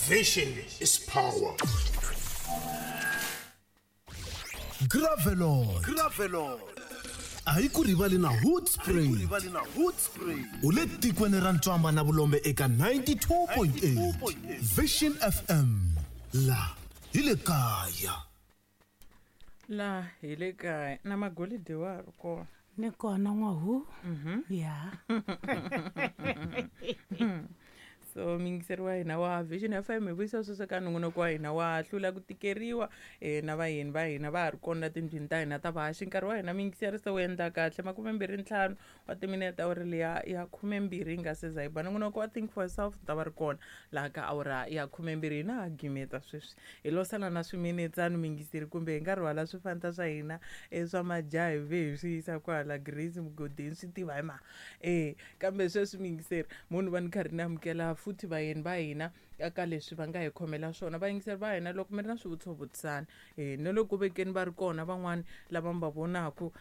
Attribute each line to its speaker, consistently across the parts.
Speaker 1: Vision is power.
Speaker 2: Gravelord.
Speaker 1: Gravelord.
Speaker 2: A yi ku rivali na Hoodspray. U le tikweni ra ntswamba na vulombe eka 92.8 Vision FM. La hi le kaya.
Speaker 3: La hi le kaya na magolide wa ha ri kona.
Speaker 4: Ni kona n'wahu. Ya.
Speaker 3: So muyingiseri wa hina wa Vision FM, hi vuyisa sweswo ka nongonoko wa hina wa hlula ku tikeriwa, na vayeni va hina va ha ri kona tindlwini ta hina ta vahaxi. Nkarhi wa hina muyingiseri se wu endla kahle 25 wa timinete, awuri liya ya 12 yi nga se za yi ba. Nongonoko wa Think for Yourself ta va ri kona laha ka awura ya 12. Hina ha gimeta sweswi, hi lo sala na swiminetsani muyingiseri, kumbe hi nga rhwala swifanta swa hina swa majaha hi ve hi swi yisa kwala Grace Mugodini, swi tiva hi ma. Kambe sweswi muyingiseri, munhu va ni karhi ni amukela futhi vayeni va hina eka leswi va nga hi khomela swona. Vayingiseri va hina, loko mi ri na swivutiso, vutisani, na loko vekeni va ri kona van'wani lava mi va vonaku,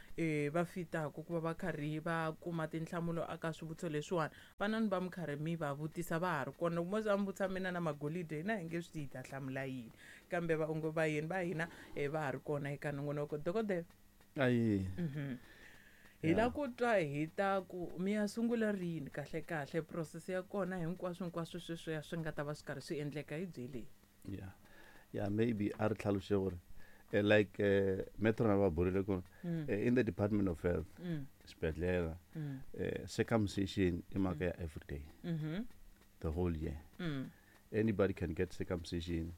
Speaker 3: va fitaku ku va va karhi va kuma tinhlamulo aka swivutiso leswiwani, vanani va mi karhi mi va vutisa, va ha ri kona. Loko mo za mi vutisa mina na magolide, hina hi nge swi tivi hi ta hlamula yini, kambe vayeni va hina, va ha ri kona eka nongonoko. Dokodela,
Speaker 5: Ayi.
Speaker 3: Hi la ku twa hi ta ku mi ya sungula rini kahle kahle process ya kona, hinkwaswo hinkwaswo sweswo ya swi nga ta va swi karhi swi endleka, hi byeleni.
Speaker 5: Yeah, maybe a ri tlhaluxe gore, like metro na va burile ku in the Department of Health, xibedhlele, circumcision i mhaka ya everyday, the whole year. Anybody can get circumcision,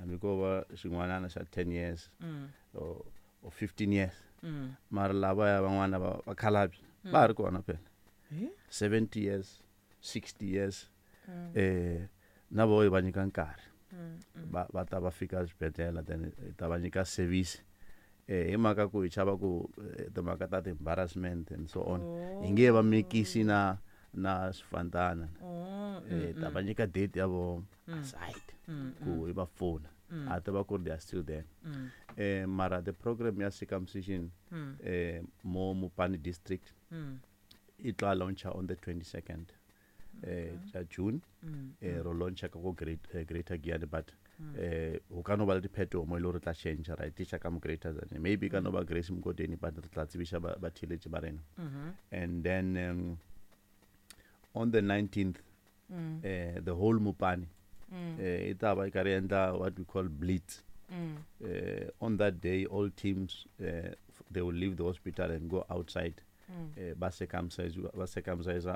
Speaker 5: hambi ko va xin'wanana xa 10 years or 15 years. Mara lava ya van'wana va vakhalabye va ha ri kona phela, 70 years, 60 years, na vo hi va nyika nkarhi, va ta va fika xibedhlele, then hi ta va nyika service. Hi mhaka ku hi chava ku timhaka ta ti-embarrassment and so on, hi nge va mikisi na swifantana. Ta va nyika date ya vo aside ku hi va pfuna, a tiva ku ri they are still there. Mara the program ya circumcision, mo Mopani district, i tla launcha on the 22nd ja June. Ro launcha ka ko Greater Giyani, but ho ka no ba le diphetogo mo e le gore re tla change, ra e tliša ka mo Greater Tzaneen, maybe ka no ba Grace Mgodeni, but re tla tsebiša batheeletši ba rena. And then on the 19th, the whole Mopani, e tla ba e ka re endla what we call blitz. On that day, all teams, they will leave the hospital and go outside, ba circumcise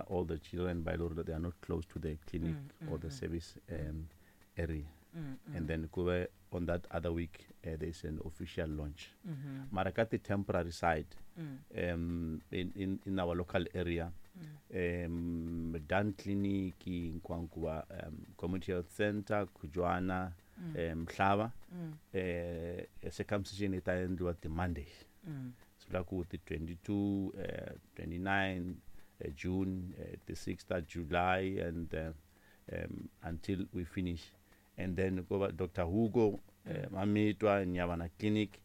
Speaker 5: all the children by law that they are not close to the clinic or the service area. And then kube on that other week, there's an official launch. Mara ka the temporary side, in our local area, Dan Clinic, Nkwankuwa, Community Health Center, Kujwana, Mhlaba, circumcision e ta endliwa ti Mondays. Swi vula ku ti 22, 29 June, the 6th of July, and until we finish. And then ko va Dr. Hugo, Mamitwa, Nyavana Clinic,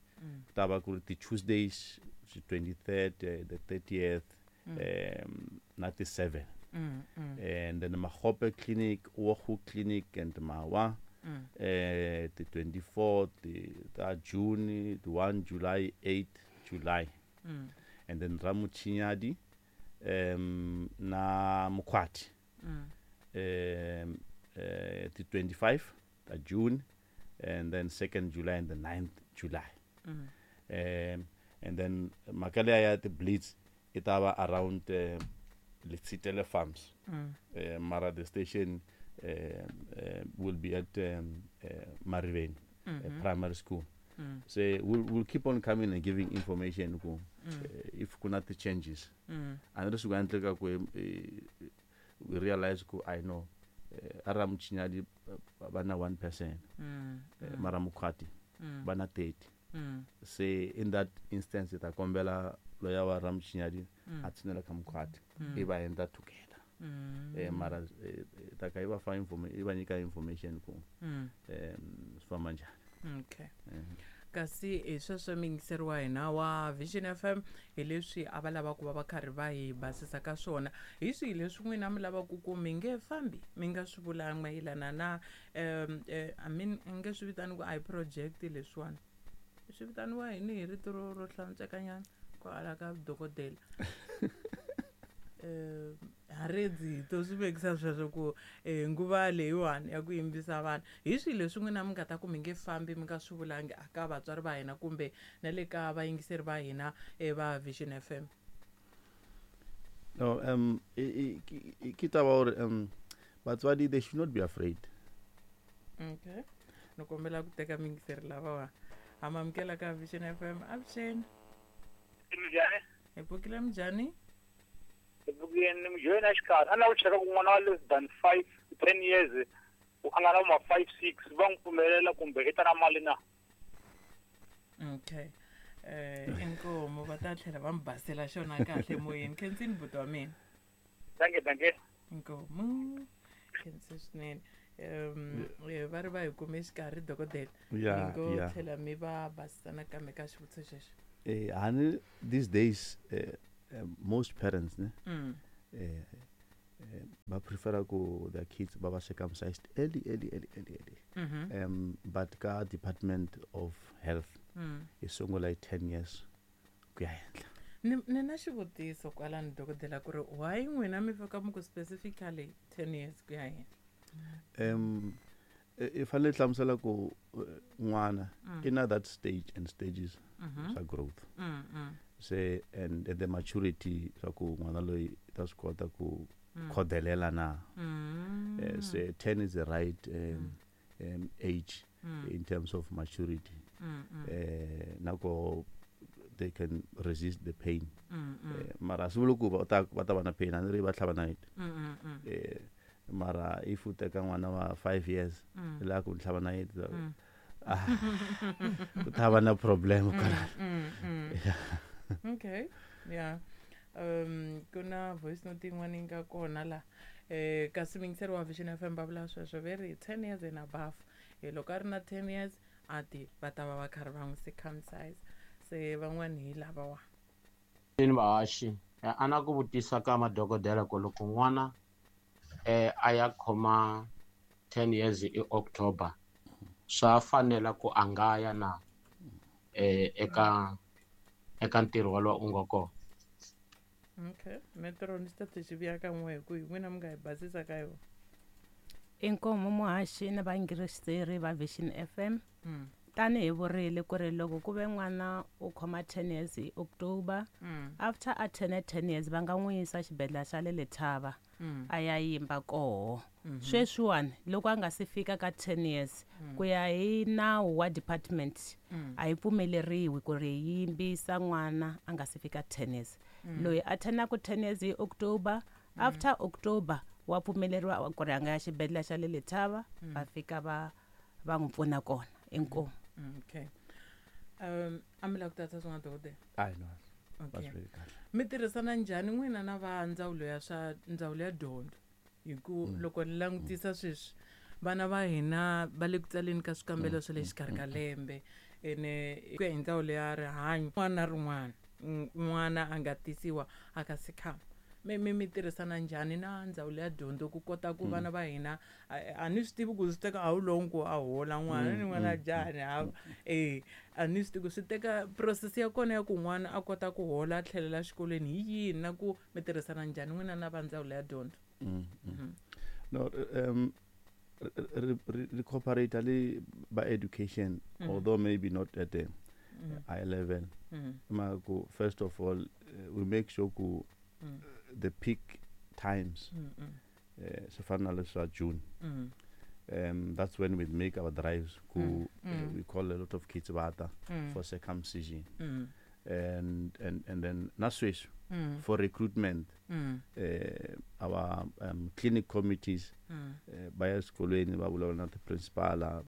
Speaker 5: ku ta va ku ri ti Tuesdays, the 23rd, the 30th, na ti 7. And then Magope Clinic, Ogu Clinic and Mawa, the 24th, the June, the 1 July, 8 July. And then Ramuchinyadi, na Mukwati, the 25 June, and then 2nd July and the 9th July. And then mhaka liya ya ti-blitz i ta va around Letsitele Farms. Mara the station will be at Mariveni Primary School. So we'll keep on coming and giving information ku if kuna ti-changes. A ni ri swi nga endleka ku we realize ku I know, a Ramuchinyadi va na one person, mara Mukhwati va na 30. Se in that instance, hi ta kombela loya wa Ramuchinyadi a tshinela ka Mukhwati, i va endla together. Mara ta ka i va fa i va nyika information ku swi famba njhani.
Speaker 3: Okay. Kasi hi sweswo miyingiseri wa hina wa Vision FM hi leswi a va lava ku va va karhi va hi basisa ka swona. Hi swihi leswi n'wina mi lavaka ku mi nge fambi mi nga swi vulanga mayelana na I mean i nge swi vitani ku a hi project leswiwani swi vitaniwa yini hi rito ro hlantswekanyana kwala ka dokodela? Haredzi to swi vekisa sweswo ku nguva leyiwani ya ku yimbisa vanhu, hi swihi leswi n'wina mi nga ta ku mi nge fambi mi nga swi vulangi aka vatswari va hina kumbe na le ka vayingiseri va hina va Vision FM?
Speaker 5: No, ke taba gore batswadi, they should not be afraid.
Speaker 3: Okay, ni kombela ku teka miyingiseri lavawa. Ha ma amukela ka Vision FM. Avuxeni.
Speaker 6: Minjhani?
Speaker 3: Hi pfukile, minjhani?
Speaker 6: Hi pfukile, mujoyini a xikarhi a na ku cheka ku n'wana wa less than 5 10 years a nga na ma 5 6 va n'wi pfumelela kumbe i ta na mali na?
Speaker 3: Okay, inkomu, va ta tlhela va mi basela xona kahle moyeni. Khensini buti wa mina.
Speaker 6: Danke, danke.
Speaker 3: Inkomu, khensi swinene. Va ri va hi kume xikarhi, dokodela. Mi ngo tlhela mi va basisa nakambe ka xivutiso xexo.
Speaker 5: Hani these days most parents ne ba prefera ku their kids ba ba circumcised early, early, early, early, early. But ka Department of Health i sungula hi 10 years ku ya henhla.
Speaker 3: Ni na xivutiso kwalani, dokodela, ku ri why n'wina mi fika mi ku specifically 10 years ku ya henhla?
Speaker 5: I fanele hlamusela ku n'wana i na that stage and stages swa growth se and the maturity swa ku n'wana loyi i ta swi kota ku khodelela na. Se 10 is the right age in terms of maturity, nako they can resist the pain. Mara swi vuli ku va ta va na pain, a ni ri va tlhava nayiti. Mara if u teka n'wana wa 5 years i lava ku tlhava nayiti, ah, ku ta va na problem kwalano.
Speaker 3: Okay, yeah, ku na voice note yin'wana yi nga kona la. Kasi muyingiseri wa Vision FM va vula sweswo, ve ri 10 years and above. Loko a ri na 10 years a ti va ta va va karhi va n'wi circumcise. Se van'wani hi lavawa.
Speaker 7: Ni vahaxi, a na ku vutisa ka madokodela ku loko n'wana a ya khoma 10 years i October, swa fanela ku a nga ya na eka ntirho walowo u nga kona?
Speaker 3: Okay, metro ni xi ta xi vuya ka n'we hi ku hi n'wina mi nga hi basisa ka yona.
Speaker 4: Inkomu muhaxi na vayingiseri va Vision FM. Tanihi vurile ku ri loko ku ve n'wana u khoma 10 years hi October, after a turn 10 years va nga n'wi yisa xibedhlele xa le Lethaba a ya yimba koho. Sweswiwani loko a nga si fika ka 10 years, ku ya hi nawu wa department, a yi pfumeleriwi ku ri hi yimbisa n'wana a nga si fika 10 years. Loyi a turnaka 10 years hi October, after October wa pfumeleriwa ku ri a nga ya xibedhlele xa le Lethaba, va fika va n'wi pfuna kona. Inkomu.
Speaker 3: Okay, a mi lava ku tatsa swin'wana, dokodela?
Speaker 5: Ai no, va swi veki kahle.
Speaker 3: Mi tirhisana njhani n'wina na va ndzawulo ya swa ndzawulo ya dyondzo? Hi ku loko ni langutisa sweswi vana va hina va le ku tsaleni ka swikambelo swa le xikarhi ka lembe, ene ku ya hi ndzawulo ya rihanyo, n'wana na rin'wana n'wana a nga tisiwa a ka sikhama, mi tirhisana njhani na ndzawulo ya dyondzo ku kota ku vana va hina a ni swi tivi ku swi teka how long ku a hola n'wana ni n'wana njhani hava a ni swi tivi ku swi teka process ya kona ya ku n'wana a kota ku hola a tlhelela exikolweni hi yini, na ku mi tirhisana njhani n'wina na va ndzawulo ya dyondzo?
Speaker 5: No, re cooperate le ba education, although maybe not at the high level. Ma ku first of all we make sure ku the peak times, swi fana na leswa June, that's when we make our drives ku we call a lot of kids vata for circumcision. And then na sweswi for recruitment, our clinic committees va ya eswikolweni va vulavula na ti-principal.